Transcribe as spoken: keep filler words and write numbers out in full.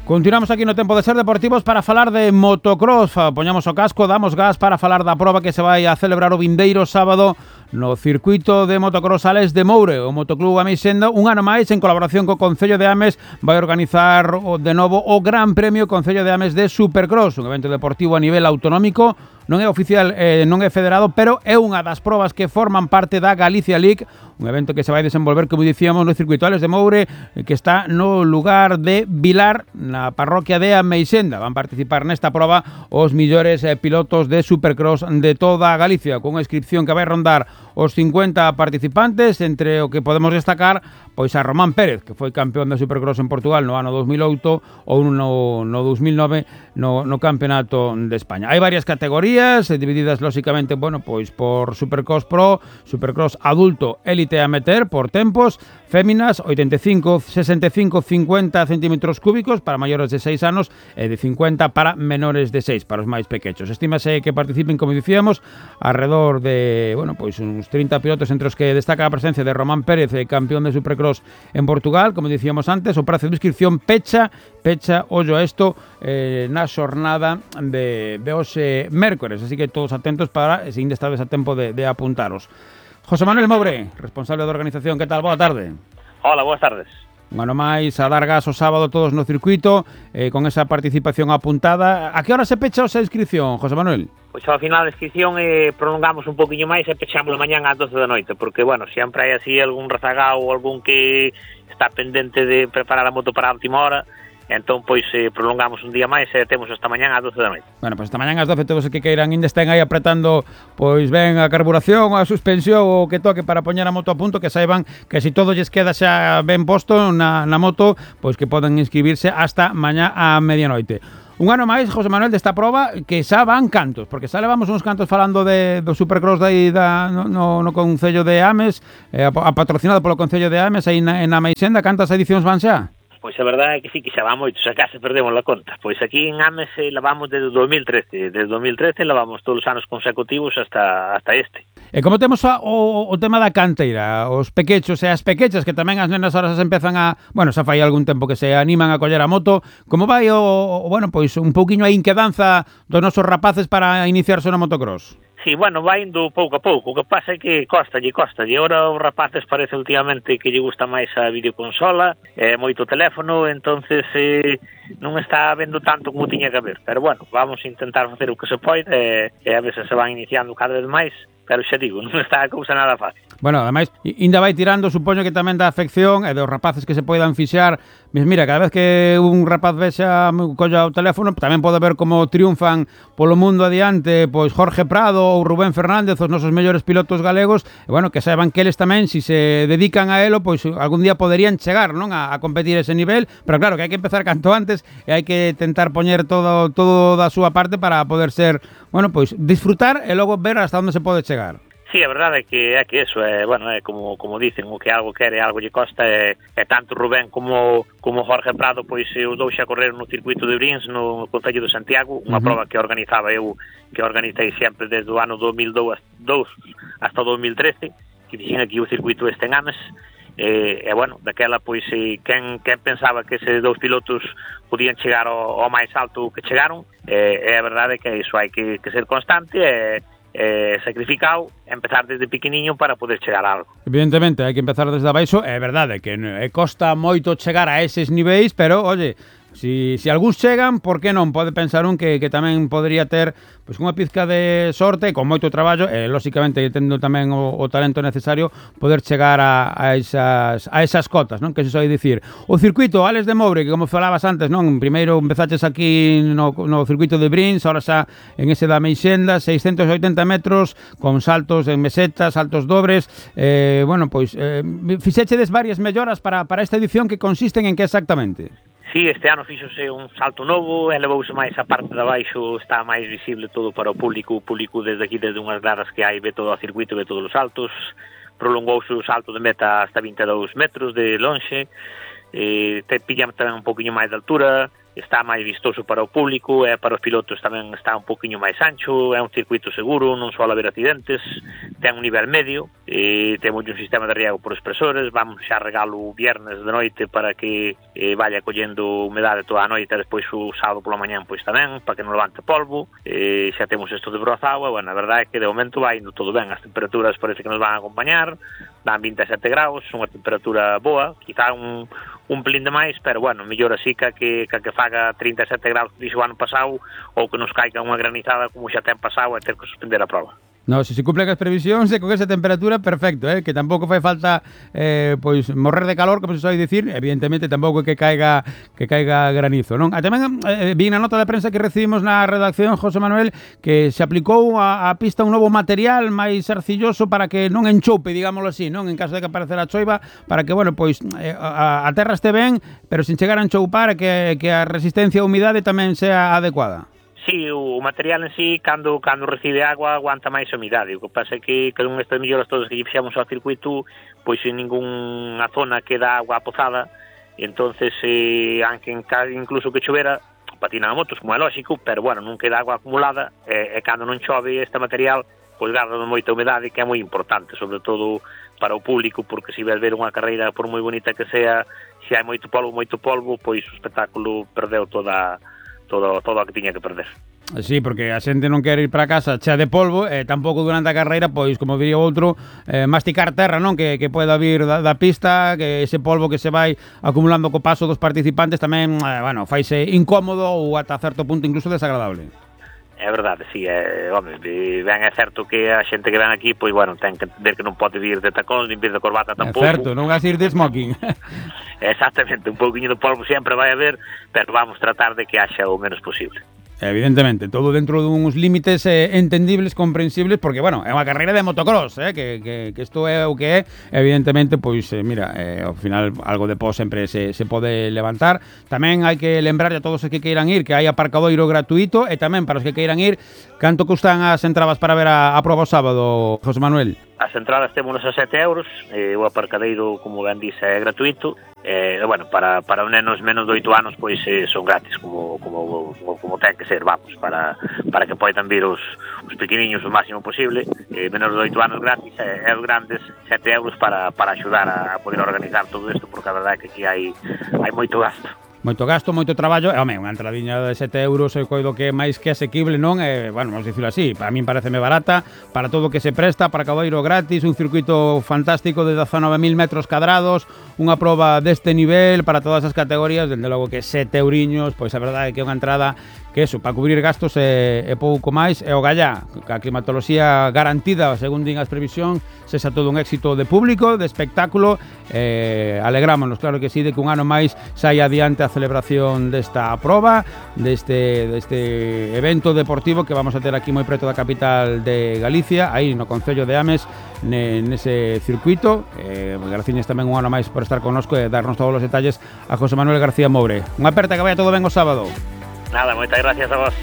Continuamos aquí no Tempo de Ser Deportivos para falar de motocross. Poñamos o casco, damos gas para falar da proba que se vai a celebrar o vindeiro sábado no circuito de motocross Ales de Moure. O Motoclub Ameixenda, un ano máis, en colaboración co Concello de Ames, vai organizar de novo o Gran Premio Concello de Ames de Supercross, un evento deportivo a nivel autonómico. Non é oficial, eh, non é federado, pero é unha das probas que forman parte da Galicia League, un evento que se vai desenvolver, como dicíamos, no circuito Ales de Moure, que está no lugar de Vilar, na parroquia de Ameixenda. Van participar nesta proba os millores eh, pilotos de Supercross de toda a Galicia, con unha inscripción que vai rondar os cincuenta participantes, entre o que podemos destacar pois a Román Pérez, que foi campeón de Supercross en Portugal no ano dos mil oito ou no, no dos mil nove no, no Campeonato de España. Hai varias categorías, divididas lóxicamente, bueno, pois por Supercross Pro, Supercross Adulto, Élite Amateur, por tempos, féminas, oitenta e cinco, sesenta e cinco, cincuenta centímetros cúbicos para maiores de seis anos e de cincuenta para menores de seis, para os máis pequenos. Estímase que participen, como dicíamos, alrededor de, bueno, pois uns trinta pilotos, entre os que destaca a presencia de Román Pérez, campeón de Supercross en Portugal, como dicíamos antes. O prazo de inscripción pecha, pecha, ollo a isto, eh, na xornada de, de hoxe mércores, así que todos atentos para, se ainda estades a tempo de, de apuntaros. José Manuel Moure, responsable da organización, que tal? Boa tarde. Hola, boas tardes. Un ano máis a dar gas o sábado todos no circuito, eh, con esa participación apuntada. A que hora se pecha esa inscripción, José Manuel? Pois ao final da inscripción eh, prolongamos un poquinho máis e pechamos mañán ás doce da noite, porque, bueno, sempre hai así algún rezagao ou algún que está pendente de preparar a moto para a última hora, entón, pois, eh, prolongamos un día máis e temos esta mañán ás doce da noite. Bueno, pois esta mañán ás doce todos os que queiran ainda estén aí apretando, pois ben a carburación, a suspensión, o que toque para poñer a moto a punto, que saiban que se todo lles queda xa ben posto na, na moto, pois que poden inscribirse hasta mañá a medianoite. Un ano máis, José Manuel, desta proba, que xa van cantos, porque xa levamos uns cantos falando de, do Supercross de aí da, no, no, no Concello de Ames, eh, a, a patrocinado polo Concello de Ames, aí na, en Ameixenda. Cantas edicións van xa? Pois a verdade é que sí, que xa van moitos, xa case perdemos a conta. Pois aquí en Ames eh, lavamos desde o dos mil trece, desde o dos mil trece lavamos todos os anos consecutivos hasta hasta este. E como temos a, o, o tema da canteira, os pequechos e as pequechas, que tamén as nenas ahora se empezan a, bueno, xa fai algún tempo que se animan a coller a moto, como vai o, o bueno, pois un pouquiño a inquedanza dos nosos rapaces para iniciarse no motocross? Sí, bueno, vai indo pouco a pouco. O que pasa é que costalle, costalle. Ora os rapaces parece últimamente que lle gusta máis a videoconsola, é moito teléfono, entonces eh, non está vendo tanto como tiña que haber. Pero bueno, vamos a intentar facer o que se pode e, e a veces se van iniciando cada vez máis, pero xa digo, non está a cousa nada fácil. Bueno, ademais, ainda vai tirando, supoño que tamén da afección e dos rapaces que se poidan fixar. Mira, cada vez que un rapaz vexa colla o teléfono, tamén pode ver como triunfan polo mundo adiante, pois Jorge Prado ou Rubén Fernández, os nosos mellores pilotos galegos, e bueno, que saiban que eles tamén, se si se dedican a elo, pois algún día poderían chegar, non, a, a competir ese nivel, pero claro, que hai que empezar canto antes e hai que tentar poñer todo todo da súa parte para poder ser, bueno, pois disfrutar e logo ver hasta onde se pode chegar. Sí, a verdade é que é que eso é, bueno, é como como dicen, o que algo quere, algo lle costa, é, é tanto Rubén como como Jorge Prado, pois os dous xa correron no circuito de Brins no Concello de Santiago, unha uh-huh. proba que organizaba eu, que organizei sempre desde o ano dos mil dous hasta o dos mil trece, que dixen aquí o circuito este en Ames. E, e bueno, daquela pois eh, quen, quen pensaba que eses dous pilotos podían chegar ao, ao máis alto que chegaron, e, e a verdade é que iso hai que, que ser constante e eh, sacrificado, empezar desde pequeniño para poder chegar a algo. Evidentemente, hai que empezar desde abaixo, é verdade que é, costa moito chegar a eses niveis, pero, oye, si, si algúns chegan, por que non? Pode pensar un que, que tamén podría ter pois unha pizca de sorte, con moito traballo, e, lóxicamente, tendo tamén o, o talento necesario, poder chegar a, a, esas, a esas cotas, non? Que se soe dicir. O circuito Ales de Moure, que como falabas antes, non? Primeiro empezaches aquí no, no circuito de Brins, ahora xa en ese da Ameixenda, seiscentos oitenta metros, con saltos en meseta, saltos dobres, eh, bueno, pois, eh, fixechedes varias melloras para, para esta edición, que consisten en que exactamente? Sí, este ano fíxose un salto novo, elevouse máis a parte de abaixo, está máis visible todo para o público, o público desde aquí, desde unhas gradas que hai, ve todo o circuito, ve todos os saltos, prolongouse o salto de meta hasta vinte e dous metros de lonxe, eh, te pillamos tamén un poquinho máis de altura, está máis vistoso para o público e para os pilotos tamén está un poquinho máis ancho, é un circuito seguro, non só haber accidentes, ten un nivel medio, e temos un sistema de riego por expresores, vamos xa regalo o viernes de noite para que eh, vaya collendo humedade toda a noite e despois o sábado pola mañán pois tamén, para que non levante polvo, e xa temos isto de brozado, e bueno, a verdade é que de momento vai indo todo ben, as temperaturas parece que nos van a acompañar, dan vinte e sete graus, unha temperatura boa, quizá un un pelín de máis, pero bueno, mellor así que que, que, que faga trinta e sete graus que dixo o ano pasado, ou que nos caiga unha granizada como xa ten pasado e ter que suspender a prova. No, se se cumplen as previsións e con esa temperatura, perfecto, eh? Que tampouco fai falta eh, pois morrer de calor, como se sabe dicir, evidentemente tampouco que caiga que caiga granizo, non? A tamén eh, vi na nota de prensa que recibimos na redacción, José Manuel, que se aplicou a, a pista un novo material máis arcilloso para que non enchoupe, digámoslo así, non? En caso de que aparecera a choiva, para que, bueno, pois eh, a, a terra este ben, pero sin chegar a enchoupar, que, que a resistencia a humidade tamén sea adecuada. Sí, o material en sí, cando cando recibe agua, aguanta máis a humidade. O que pasa é que con estas melloras todas que fixemos ao circuito, pois en ningunha zona queda agua apozada, e entonces, eh, aunque incluso que chovera, patina a motos, como é lógico, pero, bueno, non queda agua acumulada, e, e cando non chove este material, pois garda moita humedade, que é moi importante, sobre todo para o público, porque se ves ver unha carreira, por moi bonita que sea, se hai moito polvo, moito polvo, pois o espectáculo perdeu toda todo todo o que tiña que perder. Sí, porque a xente non quere ir para casa chea de polvo, e eh, tampouco durante a carreira, pois, como diría outro, eh, masticar terra, non? Que, que poida vir da, da pista, que ese polvo que se vai acumulando co paso dos participantes tamén, eh, bueno, faise incómodo ou ata certo punto incluso desagradable. É verdade, sí, é, home, ben é certo que a xente que ven aquí, pois, bueno, ten que ver que non pode vir de tacóns, nin vir de corbata tampouco. É certo, non vas ir de smoking. Exactamente, un pouquinho de polvo sempre vai haber, pero vamos tratar de que haxa o menos posible. Evidentemente, todo dentro duns límites eh, entendibles, comprensibles, porque, bueno, é unha carreira de motocross, eh, que, que, que isto é o que é, evidentemente, pois, eh, mira, eh, ao final, algo de pó sempre se, se pode levantar. Tamén hai que lembrar a todos os que queiran ir que hai aparcadoiro gratuito, e tamén para os que queiran ir, canto custan as entradas para ver a, a prova o sábado, José Manuel? As entradas témonos a sete euros, eh, o aparcadeiro, como ben dice, é gratuito, e, eh, bueno, para, para os nenos menos de oito anos, pois eh, son gratis, como, como, como, como ten que ser, vamos, para, para que poidan vir os, os pequeniños o máximo posible, eh, menos de oito anos gratis, e, e os grandes sete euros para, para axudar a, a poder organizar todo isto, porque a verdade é que aquí hai, hai moito gasto. Moito gasto, moito traballo, e, home, unha entradiña de sete euros eu coido que é máis que asequible, non? E, bueno, vamos dicirlo así, para min pareceme barata, para todo o que se presta, para caboiro gratis, un circuito fantástico de dezanove mil metros cadrados, unha proba deste nivel para todas as categorías, dende logo que sete euriños, pois a verdade é que é unha entrada que eso, para cubrir gastos e, e pouco máis, e o gallá, a climatoloxía garantida, según din as previsións, sexa todo un éxito de público, de espectáculo, eh, alegrámonos, claro que sí, de que un ano máis saia adiante a celebración desta proba, deste, deste evento deportivo que vamos a ter aquí moi preto da capital de Galicia, aí no concello de Ames, ne, nese circuito. Eh, graciñas tamén un ano máis por estar connosco e darnos todos os detalles a José Manuel García Moure. Unha aperta, que vaya todo ben o sábado. Nada, moitas gracias a vos.